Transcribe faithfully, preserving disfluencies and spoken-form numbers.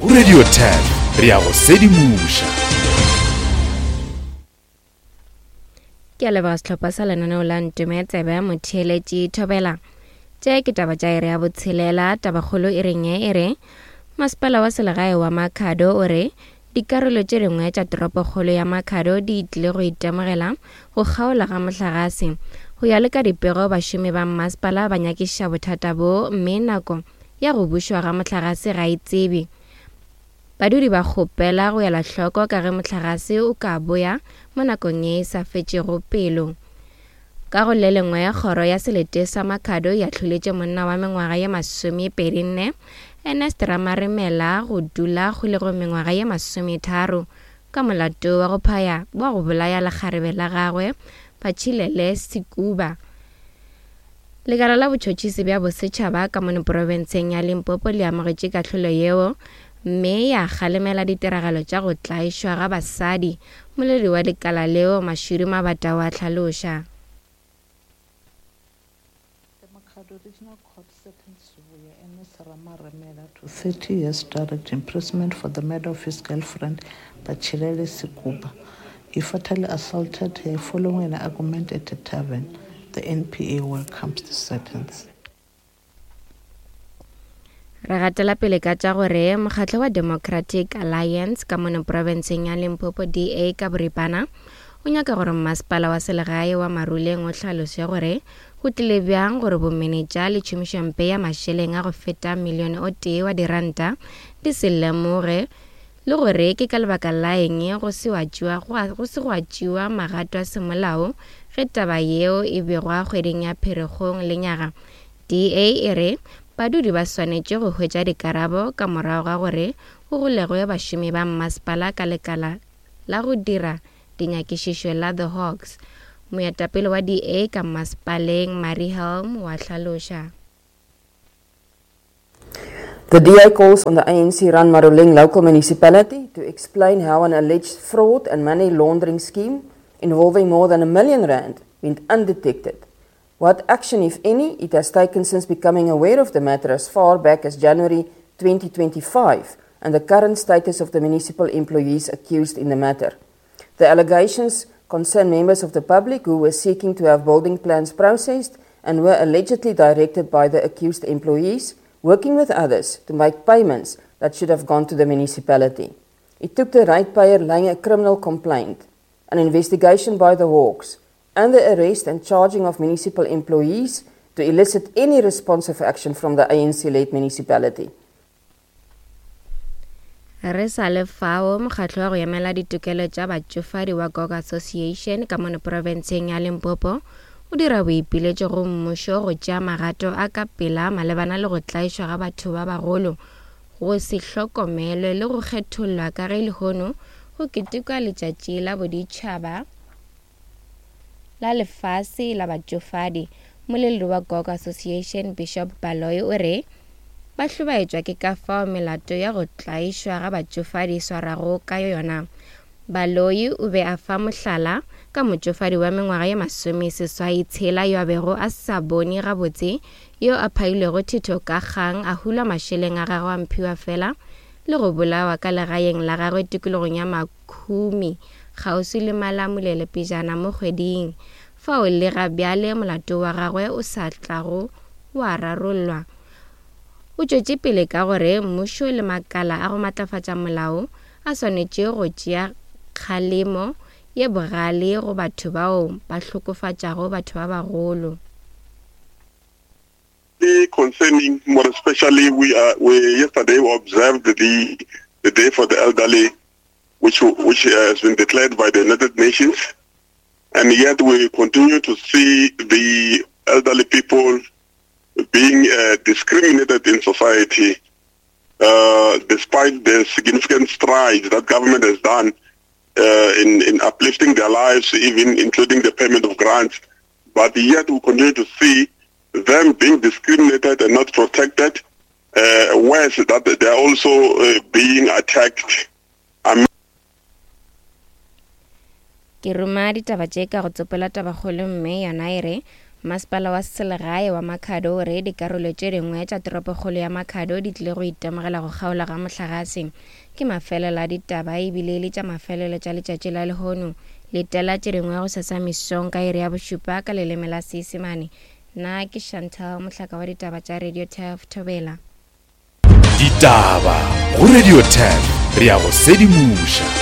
Go Radio ten re ya go sedimoša. Ke a leboga sehlopha sa lenaneo la Ntome Tsebe Motheeletši Thobela. Tše ke taba tša iri ya botshelela. Tabakgolo e reng e re masepala wa selegae wa Makhado o re dikarolo tše dingwe tša toropokgolo ya Makhado di tlile go itemogela go kgaola ga mohlagase. Go ya le ka dipego, bašomi ba mmasepala ba nyakišiša bothata bo, mme nako ya go bušwa ga mohlagase ga e tsebe. Badudi ba kgopela go ela hloko ka ge mohlagase o ka boya mo nakong ye e sa fetšego pelo. Ka go le lengwe, kgoro ya selete sa Makhado ya hloletše monna wa mengwaga ye masomepedi nne Ernest Ramaremela go dula kgolegong mengwaga ye masometharo ka molato wa go phaya wa go bolaya lekgarebe la gagwe Batšhilele Sekuba. Lekala la botšhotšhisi bja bosetšhaba ka mono profenseng ya Limpopo le amogetše kahlolo yeo mme ya kgalemela ditiragalo tša go tlaišwa ga basadi. Moledi wa lekala leo Mashudu Mabata wa hlaloša. The Makhado Regional Court sentenced Sibuya Ernest Ramaremela to thirty years direct imprisonment for the murder of his girlfriend, Batshilele Sekuba. He fatally assaulted her following an argument at a tavern. The N P A welcomes the sentence. Re gatela pele ka tša gore mokgatlo wa Democratic Alliance ka mono profenseng ya Limpopo D A ka boripana o nyaka gore mmasepala wa selegae wa Maruleng o hlalose gore go tlile bjang gore bomenetša le tšhomišompe ya mašeleng a go feta milione o tee wa diranta di se lemoge le gore ke ka lebaka la eng go se wa tšewa, go se gwa tšewa magato a semolao ge taba yeo e begwa kgweding ya Pherekgong lenyaga. D A e re badudi ba swanetše go hwetša dikarabo ka morago ga gore go golegwe bašomi ba mmasepala ka lekala la go dira dinyakišišo la The Hawks. Moetapele wa D A ka mmasepaleng Marie Helm wa hlaloša. The D A calls on the A N C-run Maruleng local municipality to explain how an alleged fraud and money laundering scheme involving more than a million rand went undetected. What action, if any, it has taken since becoming aware of the matter as far back as January twenty twenty-five and the current status of the municipal employees accused in the matter. The allegations concern members of the public who were seeking to have building plans processed and were allegedly directed by the accused employees, working with others to make payments that should have gone to the municipality. It took the ratepayer laying a criminal complaint, an investigation by the Hawks, and the arrest and charging of municipal employees to elicit any responsive action from the A N C-led municipality. Re sa le fao, mokgatlo wa go emela ditokelo tša batšofadi wa G O G Association ka mono profenseng ya Limpopo o dira boipiletšo go mmušo go tšea magato a ka pela malebana le go tlaišwa ga batho ba bagolo, go se hlokomelwe le go kgethollwa ka ge lehono go ketekwa letšatši la boditšhaba la lefase la batšofadi. Moleledi wa G O G Association Bishop Baloyi o re ba hlobaetšwa ke ka fao melato ya go tlaišwa ga batšofadi e swarago ka yona. Baloyi o be a fa mohlala ka motšofadi wa mengwaga ye masome seswai tshela yo a bego a sa bone gabotse, yo a phailwego thito ka kgang, a hulwa mašeleng a gagwe a mphiwa fela le go bolawa ka legaeng la gagwe tikologong ya Makhumi kgauswi le Malamulele pejana mo kgweding. Fao le ga bjale molato wa gagwe o sa tlago wa rarollwa. O tšwetše pele ka gore mmušo le makala a go matlafatša molao a swanetše go tšea kgalemo ye bogale go batho bao ba hlokofatšago batho ba bagolo. Concerning, more especially, we are, we yesterday we observed the, the day for the elderly, which, which has been declared by the United Nations, and yet we continue to see the elderly people being, uh, discriminated in society, uh, despite the significant strides that government has done, uh, in, in uplifting their lives, even including the payment of grants. But yet we continue to see them being discriminated and not protected, uh, worse that they are also, uh, being attacked. Ke roma ditaba tše ka go tsopola tabakgolo mme yona e re Masepala wa selegae wa Makhado o re dikarolo tše dingwe tša toropokgolo ya Makhado di tlile go itemogela go kgaola ga mohlagase. Ke mafelelo a ditaba ebile e le tša mafelelo tša letšatši la lehono. Letela tše dingwe go sasa mesong ka iri ya bošupa ka leleme la Seisemane. Nna ke Chantal, mohlaka wa ditaba tša Radio Turf Thobela. Ditaba go Radio Turf, re ya go sedimoša.